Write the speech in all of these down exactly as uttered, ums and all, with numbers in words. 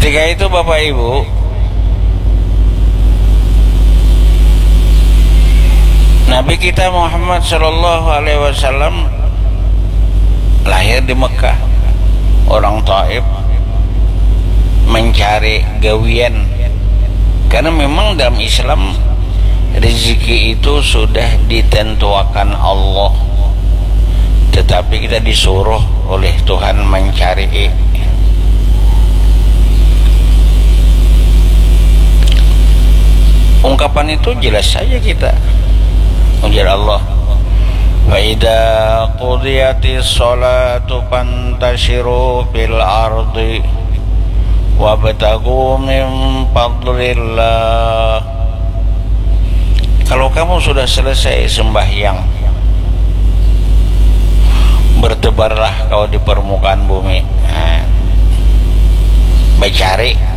Ketika itu, Bapak Ibu, Nabi kita Muhammad Shallallahu Alaihi Wasallam lahir di Mekah. Orang Taif mencari gawian, karena memang dalam Islam rezeki itu sudah ditentuakan Allah, tetapi kita disuruh oleh Tuhan mencari. Ungkapan itu jelas saja kita, ujar Allah, "Fa idza qudiyatis sholatu fantashiru fil ardi wabtagu min fadlillah." Kalau kamu sudah selesai sembahyang, bertebarlah kau di permukaan bumi. Nah, bacari.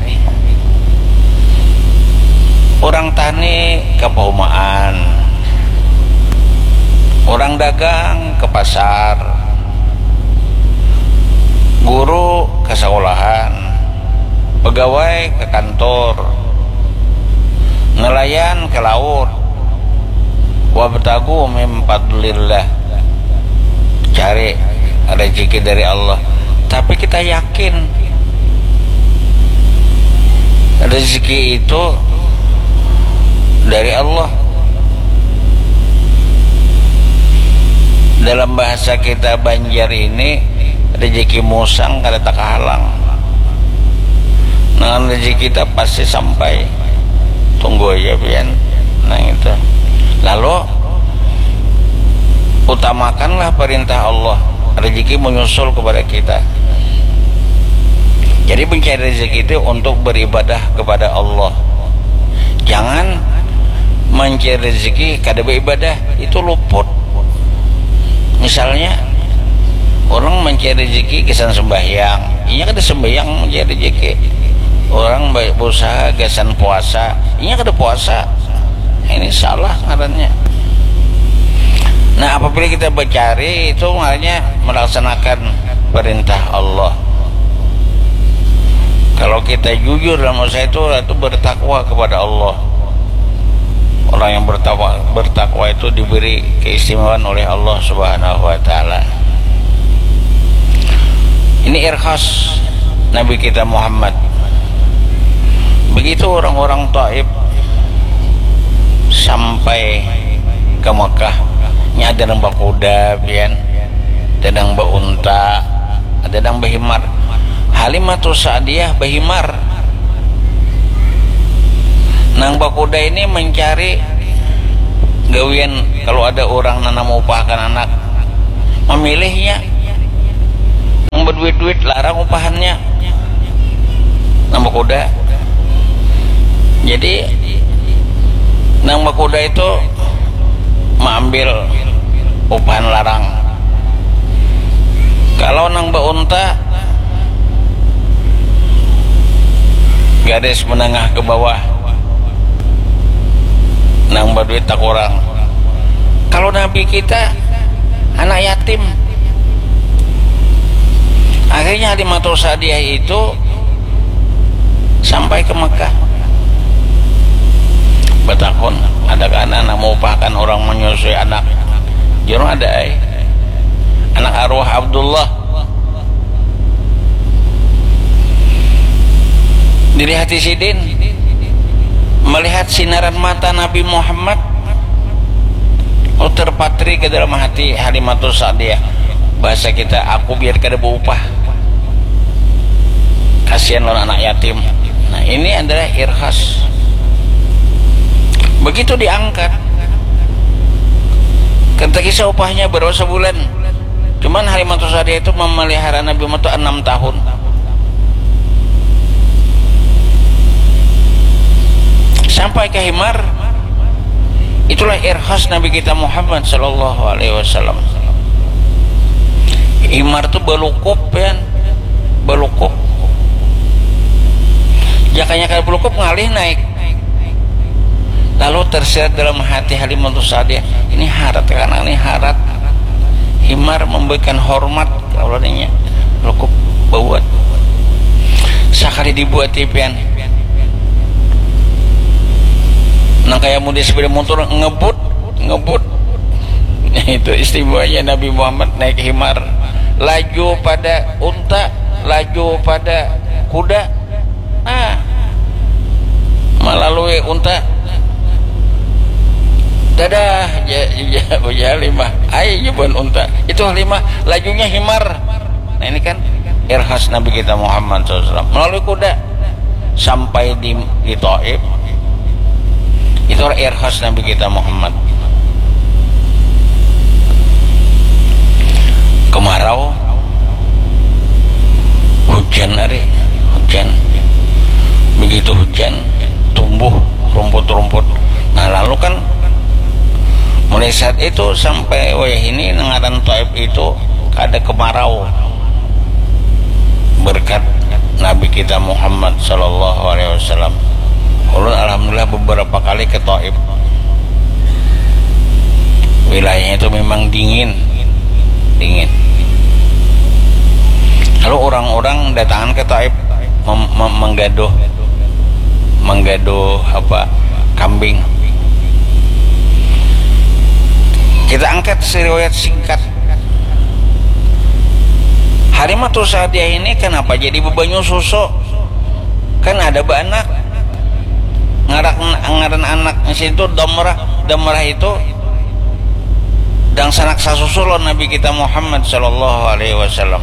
Orang tani ke paumaan, orang dagang ke pasar, guru ke sekolahan, pegawai ke kantor, nelayan ke laut. Wabtagu min fadlillah, cari rezeki dari Allah. Tapi kita yakin rezeki itu dari Allah. Dalam bahasa kita Banjar ini, rezeki musang kada takahalang. Nah, rezeki kita pasti sampai. Tunggu aja pian. Nah, itu. Lalu, utamakanlah perintah Allah. Rezeki menyusul kepada kita. Jadi, mencari rezeki itu untuk beribadah kepada Allah. Jangan mencari rezeki kada beribadah, itu luput. Misalnya, orang mencari rezeki gasan sembahyang, inya kada sembahyang mencari rezeki. Orang ba-, berusaha gasan puasa, inya kada puasa. Ini salah ngarannya. Nah, apabila kita bercari, itu ngarannya melaksanakan perintah Allah. Kalau kita jujur dalam usaha itu, itu bertakwa kepada Allah. Orang yang bertakwa, bertakwa itu diberi keistimewaan oleh Allah Subhanahu wa Ta'ala. Ini irkhas Nabi kita Muhammad. Begitu orang-orang Taif sampai ke Mekah, nya ada nang bakuda, pian, ada nang baunta, ada nang bahimar. Halimatus Sa'diyah bahimar. Nang bakuda ini mencari gawian, kalau ada orang nang maupahakan anak, mamilihnya. Nang baduit-duit larang upahannya. Nang bakuda. Jadi, nang bakuda itu maambil upahan larang. Kalau nang baunta, garis menengah ke bawah. Nang baduit takurang. Kalau Nabi kita anak yatim. Akhirnya Halimatus Sa'diyah itu sampai ke Mekah. Batakun, "Adakah anak, anak maupahakan orang menyusui anak?" Jar, "Ada ai. Anak arwah Abdullah." Dilihat sidin, melihat sinaran mata Nabi Muhammad, oh, terpatri ke dalam hati Halimatus Sa'diyah. Bahasa kita, "Aku biar kada baupah. Kasihan lawan anak yatim." Nah, ini adalah irkhas. Begitu diangkat, kada kisah upahnya berapa sebulan. Cuman Halimatus Sa'diyah itu memelihara Nabi Muhammad itu enam tahun. Sampai ke himar, itulah irkhas Nabi kita Muhammad sallallahu alaihi wasallam. Himar tu balukup, ya. Balukup. Jakanya kada balukup, ngalih naik. Lalu tersirat dalam hati Halimatus Sa'diyah, "Ini harat, karena ini harat." Himar memberikan hormat, kalau adanya balukup bauan. Sa-, Kali dibuat tipian. Nang kaya mudi sepeda motor ngebut, ngebut. Itu istimewanya Nabi Muhammad naik himar. Laju pada unta, laju pada kuda. Ah, melalui unta. Dadah, ya, ya, ya Halimah. Ayo, ya, bukan unta. Itu Halimah, lajunya himar. Nah, ini kan irhas Nabi kita Muhammad sallallahu alaihi wasallam melalui kuda sampai di, di Taif. Itu irhas Nabi kita Muhammad. Kemarau, hujan hari, hujan. Begitu hujan, tumbuh rumput-rumput. Nah, lalu kan mulai saat itu sampai wayah ini, ngaran Taif itu kada kemarau. Berkat Nabi kita Muhammad sallallahu alaihi wasallam. Ulun alhamdulillah beberapa kali ke Taif. Wilayahnya itu memang dingin, dingin. Lalu orang-orang datangan ke Taif mem- mem- menggaduh, menggaduh apa, kambing. Kita angkat seriwayat singkat. Halimatus Sa'diyah ini kenapa jadi bebanyu susu? Kan ada baanak. Ngarak, ngaran anak di situ Damrah. Damrah itu dangsanak sasusu lawan Nabi kita Muhammad sallallahu alaihi wasallam.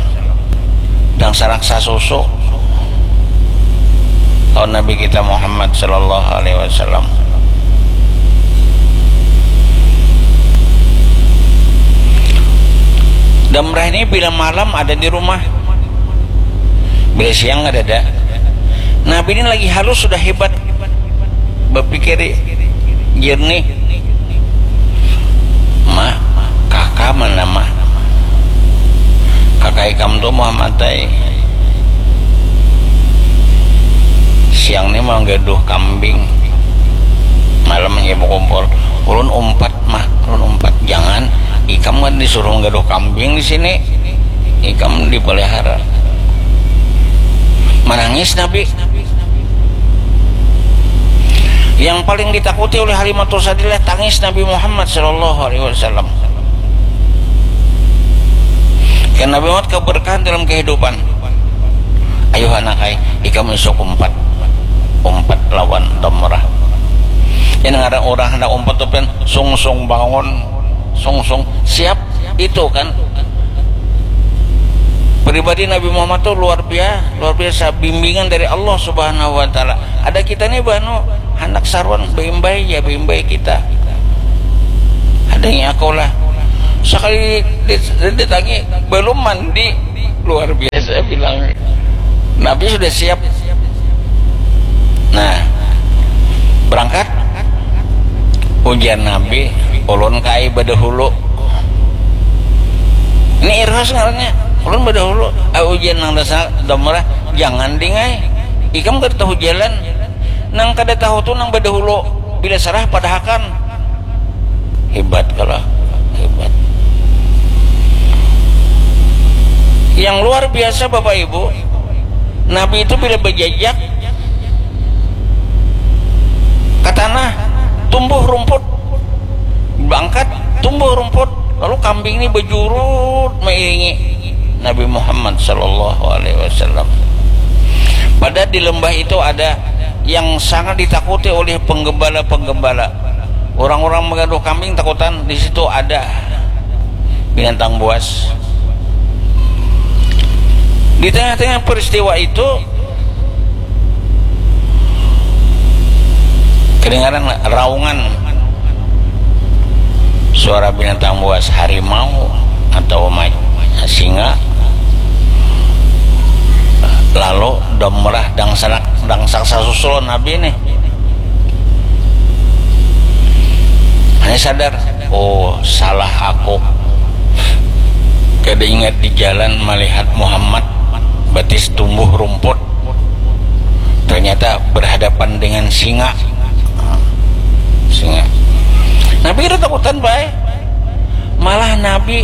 Dangsanak sasusu lawan Nabi kita Muhammad sallallahu alaihi wasallam. Damrah ini bila malam ada di rumah, bila siang ada ada. Nabi ini lagi halus, sudah hebat, berpikir jernih. Mah, kaka mana mah? Kaka ikam tu Muhammad ai. Siang ni manggaduh kambing, malam hanya bakumpul. Ulun umpat mah, ulun umpat. Jangan, ikam kan disuruh manggaduh kambing di sini, ikam dipelihara. Menangis Nabi. Yang paling ditakuti oleh Halimatus Sa'diyah tangis Nabi Muhammad sallallahu alaihi wasallam. Karena Nabi Muhammad keberkahan dalam kehidupan. Ayo anak ai, ikam isuk umpat, umpat lawan Damrah. Ini ngaran orang hendak umpat tu pian sungsung bangun, sungsung siap itu kan. Pribadi Nabi Muhammad tu luar biasa, luar biasa bimbingan dari Allah Subhanahu wa Taala. Ada kita ni banu handak saruan, beimbai ya, beimbai kita. Adanya aku lah. Sekali ditangi, belum mandi, luar biasa bilang. Nabi sudah siap. Nah, berangkat. Ujar Nabi, ulun kai badahulu. Ini irhas ngarannya. Ulun badahulu. Ah, ujar nang dasar Damrah, jangan ding ai. Ikam kada tahu jalan. Nang kada tahu tu nang badahulu. Bila sarah padahakan. Hebat kalo, hebat. Yang luar biasa Bapak Ibu, Nabi itu bila bajajak ke tanah, tumbuh rumput, bangkat, tumbuh rumput, lalu kambing ini bajurut mairingi Nabi Muhammad sallallahu alaihi wasallam. Padahal di lembah itu ada yang sangat ditakuti oleh penggembala-penggembala. Orang-orang menggaduh kambing takutan, di situ ada binatang buas. Di tengah-tengah peristiwa itu, kedengaran raungan suara binatang buas, harimau atau ma-, singa. Lalu Damrah dangsanak, dangsak sasusul Nabi nih. Hanya sadar, "Oh, salah aku. Kada ingat di jalan melihat Muhammad, batis tumbuh rumput. Ternyata berhadapan dengan singa." Singa. Nabi kada takutan bae. Malah Nabi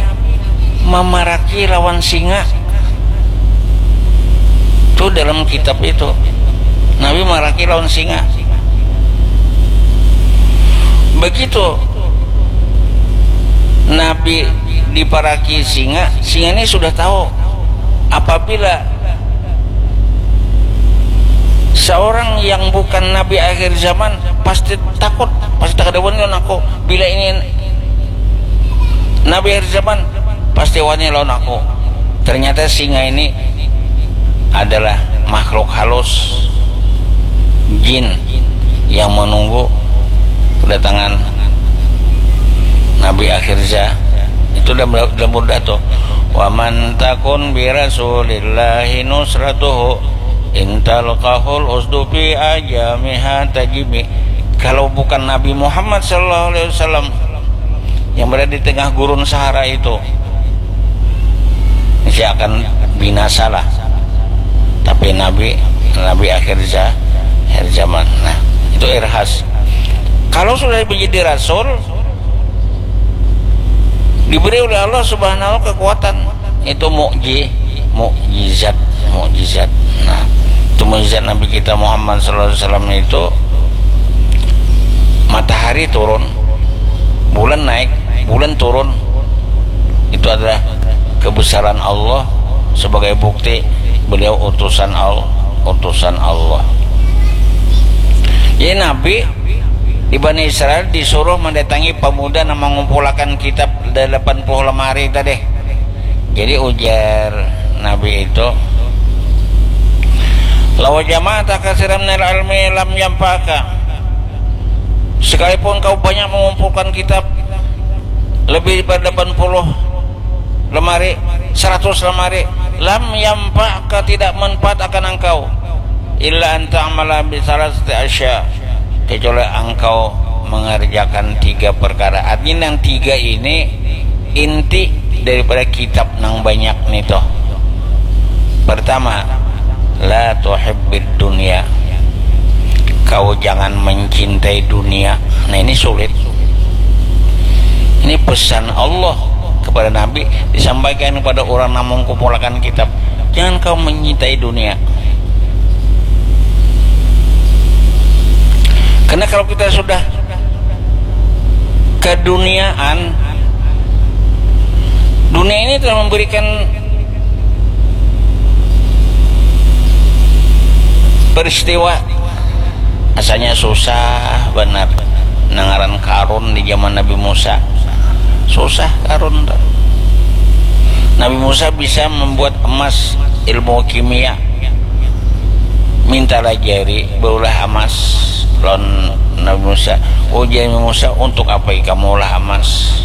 mamaraki lawan singa. Tu dalam kitab itu. Nabi maraki lawan singa. Begitu Nabi diparaki singa, singa ini sudah tahu apabila seorang yang bukan nabi akhir zaman pasti takut, pasti takut lawan aku. Bila ini nabi akhir zaman, pasti wani lawan aku. Ternyata singa ini adalah makhluk halus, jin yang menunggu kedatangan nabi akhir zaman. Itu dalam, dalam burdah tuh, "Wa man takun bi rasulillahi nusratuhu intal kahul usdupi ajamiha tajimi." Kalau bukan Nabi Muhammad sallallahu alaihi wasallam yang berada di tengah gurun Sahara itu, saya akan binasa lah. Tapi Nabi, Nabi akhir, za, akhir zaman. Nah, itu irhas. Kalau sudah menjadi rasul, diberi oleh Allah Subhanahu kekuatan, itu mukji, mukjizat, mukjizat. Nah, itu mukjizat Nabi kita Muhammad sallallahu alaihi wasallam itu, matahari turun, bulan naik, bulan turun. Itu adalah kebesaran Allah sebagai bukti beliau utusan Allah, utusan Allah. Jadi Nabi di Bani Israel disuruh mendatangi pemuda yang mengumpulkan kitab delapan puluh lemari tadi. Jadi ujar Nabi itu, "Lawa jama'ata katsiran minal ilmi lam yanfa'ka." Sekalipun kau banyak mengumpulkan kitab lebih daripada delapan puluh lemari, seratus lemari, lam yanfa'ka, tidak manfaat akan engkau, illa an ta'mala bi salasati asya, kecuali engkau mengerjakan tiga perkara. Artinya yang tiga ini inti daripada kitab nang banyak nih toh. Pertama, la tuhibbid dunia. Kau jangan mencintai dunia. Nah, ini sulit. Ini pesan Allah kepada Nabi disampaikan kepada orang yang mengumpulkan kitab. Jangan kau mencintai dunia. Karena kalau kita sudah keduniaan, dunia ini telah memberikan peristiwa. Asalnya susah benar. Nang ngaran Karun di zaman Nabi Musa. Susah Karun tuh. Nabi Musa bisa membuat emas, ilmu kimia. Minta lajari baulah emas lawan Nabi Musa. Ujar Nabi Musa, "Untuk apa ikam maulah emas?"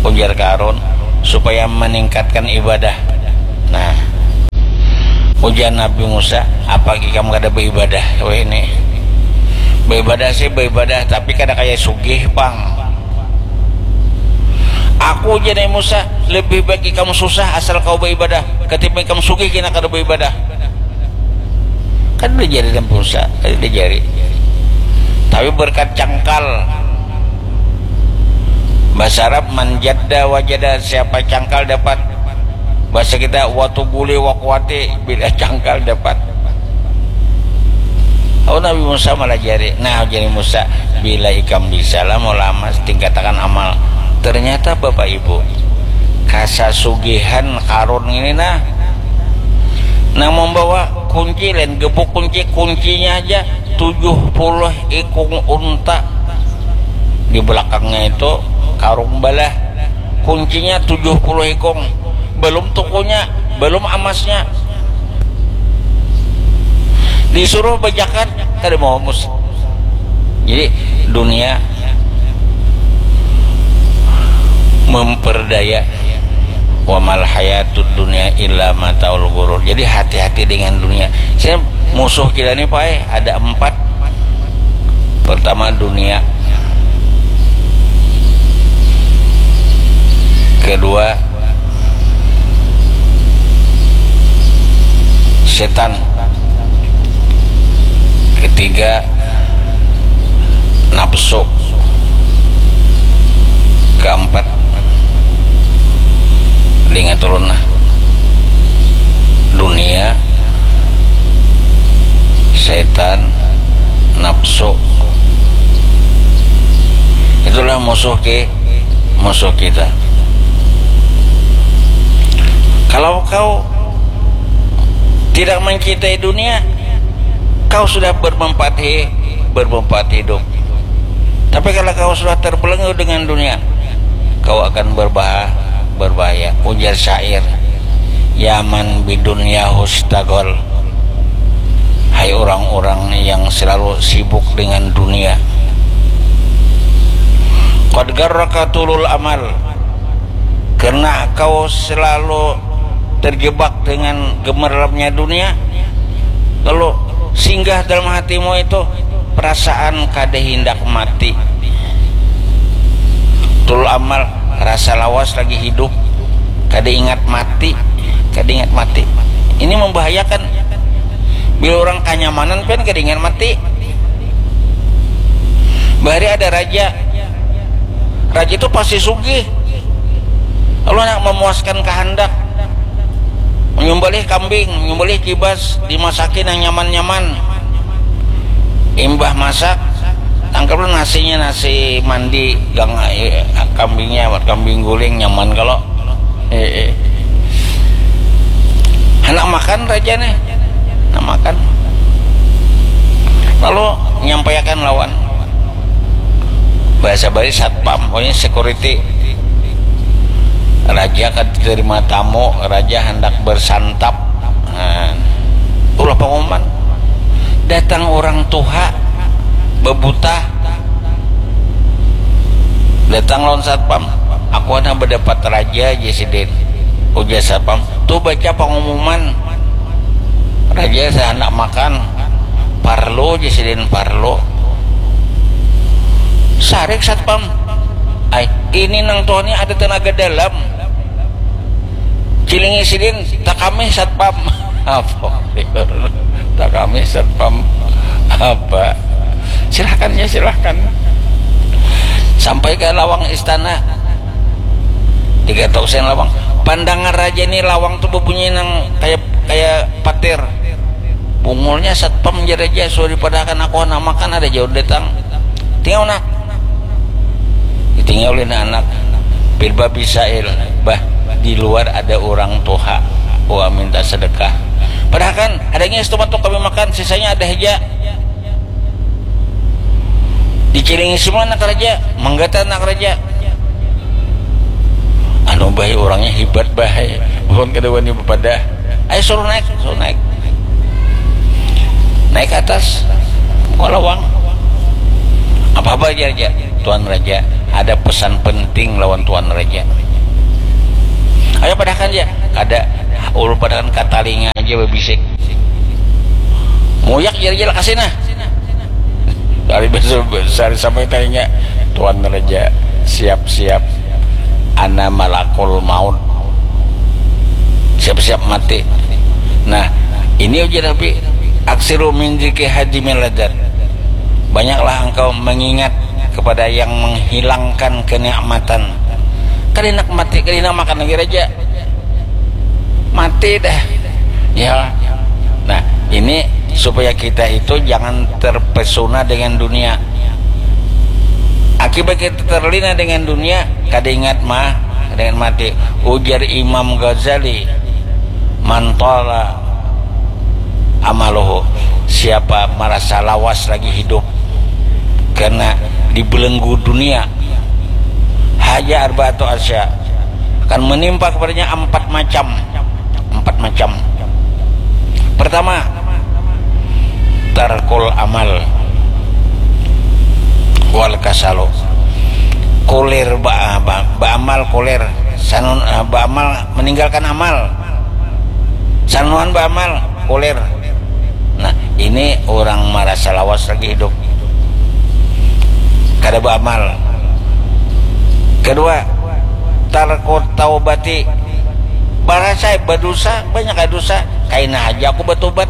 Ujar Karun, "Supaya meningkatkan ibadah." Nah, ujar Nabi Musa, "Apa ikam kada beribadah wahini?" "Beribadah sih beribadah, tapi kada kaya sugih pang." "Aku," ujar Nabi Musa, "lebih baik ikam susah asal kau beribadah ketimbang ikam sugih kena kada beribadah." Kan udah jari dan pulsa, kan udah jari. Tapi berkat cangkal. Bahasa Arab, "Man jadda wajada," siapa cangkal dapat. Bahasa kita, "Watu guli wakuati," bila cangkal dapat. Oh, Nabi Musa malah jari. Nah, jadi Musa, "Bila ikam bisa lah mau lamas, tingkatakan amal." Ternyata Bapak Ibu, kasasugihan Karun ini nah, nang membawa kunci lain gebuk kunci, kuncinya aja tujuh puluh ikung unta di belakangnya itu karung balah, kuncinya tujuh puluh ikung, belum tukunya, belum amasnya, disuruh bejakat kada mau mus. Jadi dunia memperdaya. "Wa mal hayatud dunya illa mataul ghurur." Jadi hati-hati dengan dunia. Saya, musuh kita ini, Pak, eh, ada empat. Pertama dunia. Kedua setan. Ketiga nafsu. Keempat, ingat ulun nah, dunia, Musuh. Itulah musuh ke musuh kita. Kalau kau tidak mencintai dunia, kau sudah bermanfaat hi-, bermanfaat hidup. Tapi kalau kau sudah terbelenggu dengan dunia, kau akan berbah-, berbahaya. Ujar syair, "Yaman bidunya hustagol." Hai orang-orang yang selalu sibuk dengan dunia. Qad garraka tulul amal. Karena kau selalu terjebak dengan gemerlapnya dunia, lalu singgah dalam hatimu itu perasaan kada hindak mati. Tulul amal, rasa lawas lagi hidup, kada ingat mati, kada ingat mati. Ini membahayakan. Bila orang kanyamanan pian kada ingat mati. Bahari ada raja. Raja itu pasti sugih. Lalu nak memuaskan kehendak, menyembelih kambing, menyembelih kibas, dimasaki nang nyaman-nyaman. Imbah masak, tangkaplah nasinya, nasi mandi, gang, eh, kambingnya, kambing guling, nyaman kalau. Eh, eh. Hendak makan raja nih. Hendak makan. Lalu nyampaikan lawan bahasa Bali satpam, pokoknya security. Raja kada terima tamu, raja hendak bersantap. Nah, ulah pengumuman. Datang orang tuha, bebutah. Datang lawan satpam. "Aku handak bedapat raja," jar sidin. Ujar satpam, "Tuh baca pengumuman. Raja saya hendak makan." "Parlo," jar sidin, "parlo." Sarik satpam. "Ai, ini nang tuha ni ada tenaga dalam." Cilingi sidin, "Takamih satpam." "Apa?" "Takamih satpam." "Apa?" "Silahkan ya, silahkan." Sampai ke lawang istana. Tiga tausen lawang. Pandangar raja ni lawang tu bebunyi nang kaya, kaya patir. Bungulnya satpam, jar raja, "Sudah dipadahakan aku handak makan, ada jauh datang." Tinggal nak. Ditinggal oleh anak. Pin babisail, "Bah, di luar ada orang tuha. Wah, minta sedekah." "Padahakan, ada ngias tu matuk kami makan, sisanya ada haja." Dicilingi semua anak raja, manggata anak raja. "Anu, bah, orangnya hibat, bah. Bukan kada wani bepadah." "Ayo, suruh naik, suruh naik." Naik ke atas, buka lawang. "Apa-apa aja, aja. Tuan Raja, ada pesan penting lawan Tuan Raja." "Ayo, padahakan aja." "Kada, ulun padahakan ka talinga aja, babisik." Muyak jar aja, "Lakasi nah." Hari besok sehari sampai tanya, "Tuan Raja, siap-siap, ana malakul maut, siap-siap mati." Nah, ini ujar Nabi, "Aksiru min dzikri hadimil ladzat." Banyaklah engkau mengingat kepada yang menghilangkan kenikmatan. Kada nak mati, kada nak makan lagi raja. Mati dah. Ya. Nah, ini supaya kita itu jangan terpesona dengan dunia. Akibat kita terlena dengan dunia, kada ingat mah, kada ingat mati. Ujar Imam Ghazali, "Man tala amaluhu," siapa merasa lawas lagi hidup karena dibelenggu dunia, haja arba'atu asya, akan menimpa kepadanya empat macam. Empat macam. Pertama, tarkul amal wal kasalu. Kulir ba, ba, baamal, kulir. Sanun, eh, baamal, meninggalkan amal. Sanuan baamal, kulir. Nah, ini orang marasa lawas lagi hidup. Kada baamal. Kedua, tarkut taubati. Barasa badusa, banyak dusa, kaina haja aku batubat.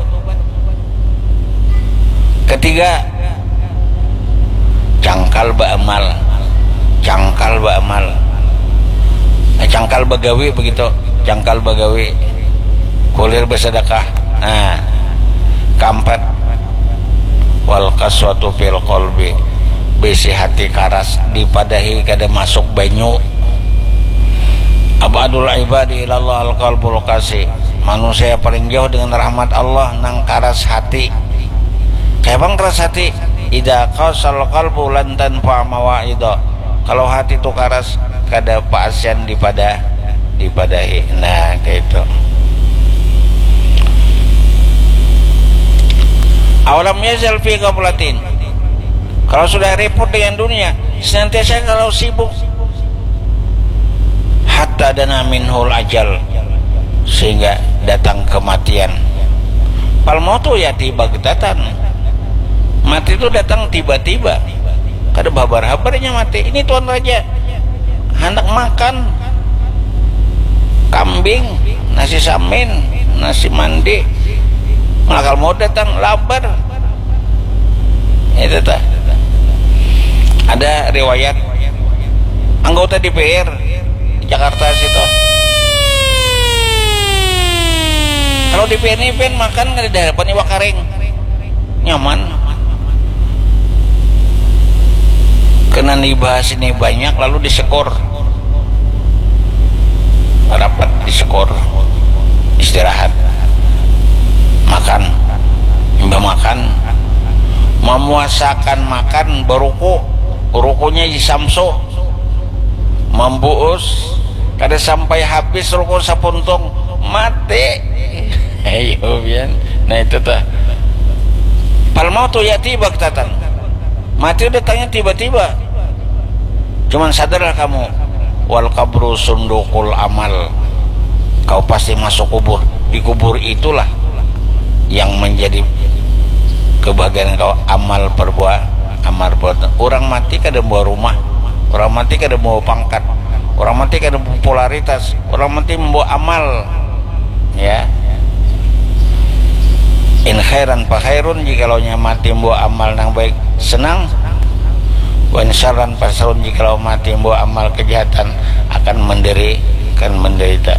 Ketiga, cangkal baamal. Cangkal baamal. Eh, cangkal bagawi begitu. Cangkal bagawi. Kulir bersedekah. Nah, keempat, Wal qaswatu fil qalbi, bisi hati karas, dipadahi kada masuk banyu. Abadul ibadi ilallah al qalbul qasi, manusia paling jauh dengan rahmat Allah nang karas hati. Kaya bang karas hati, idza qasal qalbu lan tanfa mawaidha. Kalau hati tu karas, kada paasian dipada dipadahi. Nah, kayak itu. Awalam yazal fi ghaflatin. Kalau sudah repot dengan dunia, senantiasa kalau sibuk. Hatta dana minhul ajal, sehingga datang kematian. Fal mautu yati bagtatan. Mati itu datang tiba-tiba. Kada bahabar-habarnya mati. Ini tuan raja handak makan kambing, nasi samin, nasi mandi. Malakal maut datang, labar. Itu tah. Ada riwayat anggota D P R di Jakarta situ. Kalau D P R ini pen makan kada ada harapan iwak karing. Nyaman. Kena dibahas ini banyak lalu disekor. Rapat disekor. Istirahat. Makan. Imbah makan, memuasakan makan beruku. Rukunya di Samsu. Membuus. Kada sampai habis ruku sapuntung. Mati. Ayo, pian. Nah, itu tah. Fal mautu yati bagtatan. Mati datangnya tiba-tiba. Cuman sadarlah kamu, wal qabru sundukul amal. Kau pasti masuk kubur. Di kubur itulah yang menjadi kebahagiaan kau, amal perbuat, amal perbuatan. Orang mati kada membawa rumah, orang mati kada membawa pangkat, orang mati kada membawa popularitas, orang mati membawa amal. Ya. In khairan fa khairun, jikalau nya mati membawa amal nang baik, senang. Wa in syarran fa syarrun, jikalau mati membawa amal kejahatan, akan menderi-, akan menderita.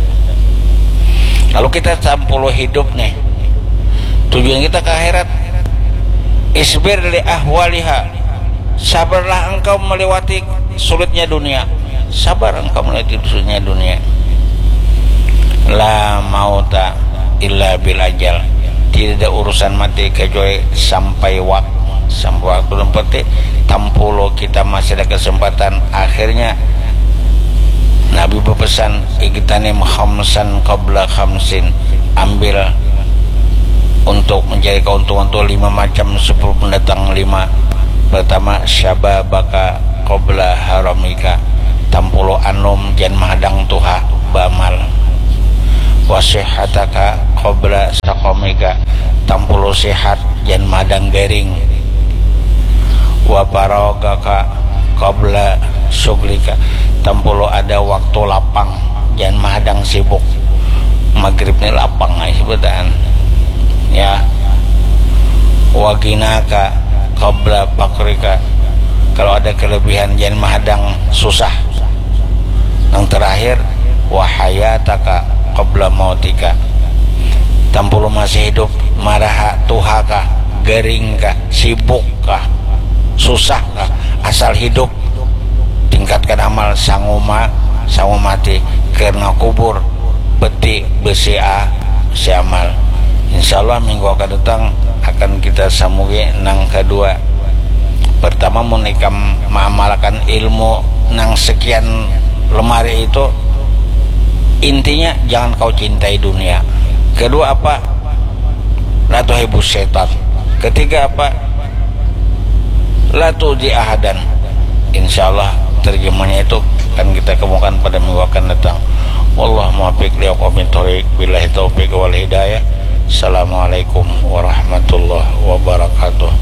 Lalu kita tampulu hidup nih. Tujuan kita ke akhirat. Isbir li ahwaliha. Sabarlah engkau melewati sulitnya dunia. Sabar engkau melewati sulitnya dunia. La mauta illa bil ajal. Tidak ada urusan mati kecuali sampai waktu. Sampai waktu dan peti tampulu kita masih ada kesempatan. Akhirnya Nabi berpesan, "Igtanim khamsan qabla khamsin." Ambil untuk mencari keuntungan tu lima macam sebelum datang lima. Pertama, syababaka qabla haramika. Tampulu anum jan mahadang tuha baamal. Wa sihhataka qabla saqamika. Tampulu sihat jan mahadang garing. Wa faragaka qabla syughlika. Tampulu ada waktu lapang jan mahadang sibuk. Magrib ni lapang ai sebutan. Ya. Wa ghinaka qabla faqrika. Kalau ada kelebihan jan mahadang susah. Nang terakhir, wa hayataka qabla mautika. Tampulu masih hidup, maraha tuha kah, garing kah, sibuk kah, susah kah, asal hidup. Tingkatkan amal, sanguma, sangu mati, karena kubur peti besi a, si amal. Insya Allah minggu akan datang akan kita sambugi nang kedua. Pertama, mun ikam maamalakan ilmu nang sekian lemari itu, intinya jangan kau cintai dunia. Kedua apa? La tuhibbus syaitan. Ketiga apa? La tu'dzi ahadan. Insya Allah terjemahnya itu akan kita kemukakan pada minggu akan datang. Wallahu muwaffiq li aqwamit thoriq. Billahi taufiq wal hidayah. Assalamualaikum warahmatullahi wabarakatuh.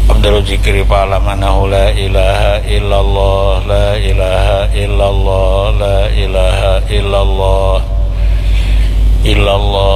Afdalu dzikri fa'lam annahu la ilaha illallah, la ilaha illallah, la ilaha illallah, illallah.